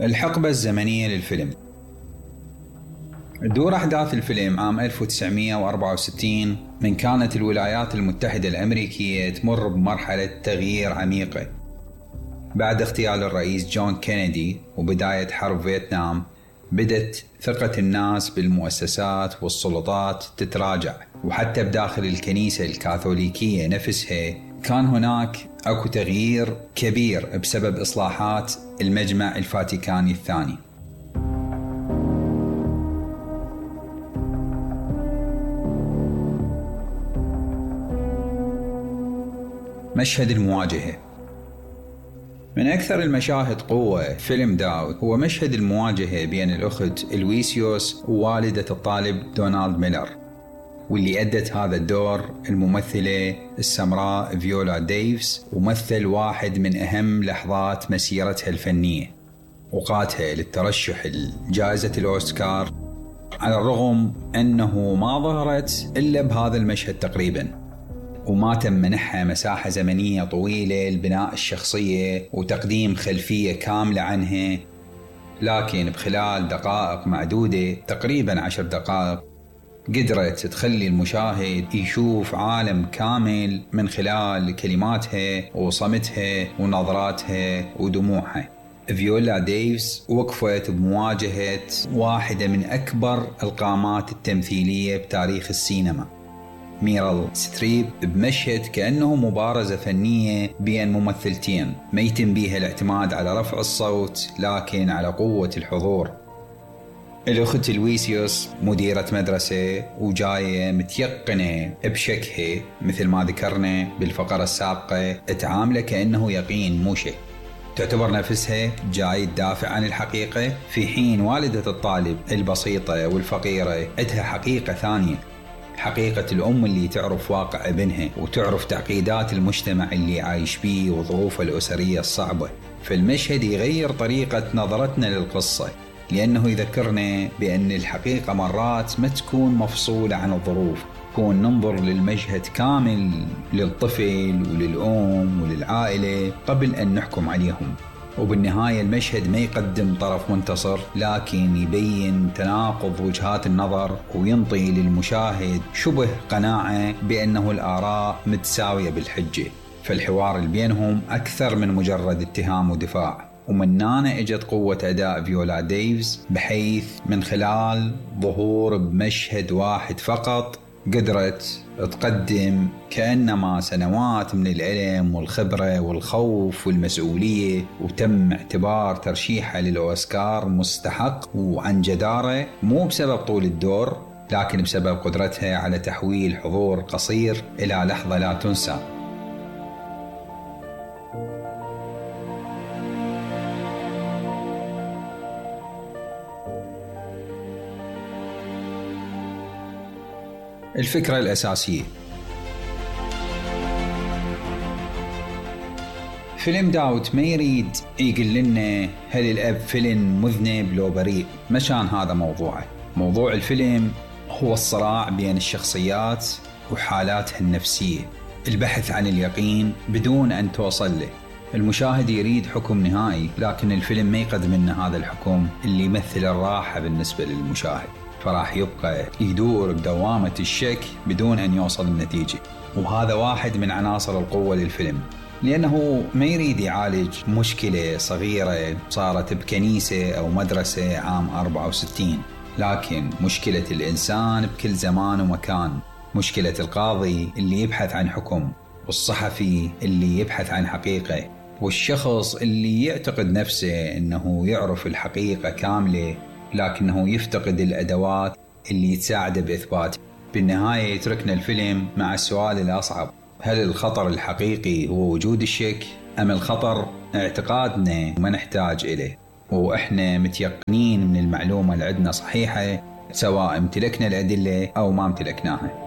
الحقبة الزمنية للفيلم. تدور أحداث الفيلم عام 1964 من كانت الولايات المتحدة الأمريكية تمر بمرحلة تغيير عميقة بعد اغتيال الرئيس جون كينيدي وبداية حرب فيتنام. بدت ثقة الناس بالمؤسسات والسلطات تتراجع، وحتى بداخل الكنيسة الكاثوليكية نفسها كان هناك اكو تغيير كبير بسبب إصلاحات المجمع الفاتيكاني الثاني. مشهد المواجهة. من أكثر المشاهد قوة فيلم داود هو مشهد المواجهة بين الأخت إلويسيوس ووالدة الطالب دونالد ميلر، واللي أدت هذا الدور الممثلة السمراء فيولا ديفيس، ومثل واحد من أهم لحظات مسيرتها الفنية وقاتها للترشح لجائزة الأوسكار، على الرغم أنه ما ظهرت إلا بهذا المشهد تقريباً، وما تم منحها مساحة زمنية طويلة لبناء الشخصية وتقديم خلفية كاملة عنها. لكن بخلال دقائق معدودة، تقريبا 10 دقائق، قدرت تخلي المشاهد يشوف عالم كامل من خلال كلماتها وصمتها ونظراتها ودموعها. فيولا ديفيس وقفت بمواجهة واحدة من أكبر القامات التمثيلية بتاريخ السينما، ميريل ستريب، بمشهد كأنه مبارزة فنية بين ممثلتين ما يتم بيها الاعتماد على رفع الصوت لكن على قوة الحضور. الأخت لويسيوس مديرة مدرسة وجاية متيقنة بشكها، مثل ما ذكرنا بالفقرة السابقة، تعامله كأنه يقين مو شك. تعتبر نفسها جاي تدافع عن الحقيقة، في حين والدة الطالب البسيطة والفقيرة عندها حقيقة ثانية، حقيقة الأم اللي تعرف واقع ابنها وتعرف تعقيدات المجتمع اللي عايش بيه وظروفه الأسرية الصعبة. فالمشهد يغير طريقة نظرتنا للقصة، لأنه يذكرنا بأن الحقيقة مرات ما تكون مفصولة عن الظروف، تكون ننظر للمشهد كامل للطفل وللأم وللعائلة قبل أن نحكم عليهم. وبالنهاية المشهد ما يقدم طرف منتصر، لكن يبين تناقض وجهات النظر وينطي للمشاهد شبه قناعة بأنه الآراء متساوية بالحجة، فالحوار اللي بينهم أكثر من مجرد اتهام ودفاع. ومن هنا اجت قوة أداء فيولا ديفيس، بحيث من خلال ظهور بمشهد واحد فقط قدرت تقدم كأنما سنوات من العلم والخبرة والخوف والمسؤولية، وتم اعتبار ترشيحها للأوسكار مستحق وعن جدارة، مو بسبب طول الدور لكن بسبب قدرتها على تحويل حضور قصير إلى لحظة لا تنسى. الفكرة الأساسية. فيلم داود ما يريد يقول لنا هل الأب فيلم مذنب لو بريء، مشان هذا موضوعه. موضوع الفيلم هو الصراع بين الشخصيات وحالاتها النفسية، البحث عن اليقين بدون أن توصل له. المشاهد يريد حكم نهائي، لكن الفيلم ما يقدم لنا هذا الحكم اللي يمثل الراحة بالنسبة للمشاهد، فراح يبقى يدور بدوامة الشك بدون أن يوصل النتيجة. وهذا واحد من عناصر القوة للفيلم، لأنه ما يريد يعالج مشكلة صغيرة صارت بكنيسة أو مدرسة عام 64، لكن مشكلة الإنسان بكل زمان ومكان، مشكلة القاضي اللي يبحث عن حكم، والصحفي اللي يبحث عن حقيقة، والشخص اللي يعتقد نفسه أنه يعرف الحقيقة كاملة لكنه يفتقد الأدوات اللي تساعده بإثباته. بالنهاية يتركنا الفيلم مع السؤال الأصعب: هل الخطر الحقيقي هو وجود الشك، أم الخطر اعتقادنا وما نحتاج إليه، وإحنا متيقنين من المعلومة اللي عندنا صحيحة، سواء امتلكنا الأدلة أو ما امتلكناها؟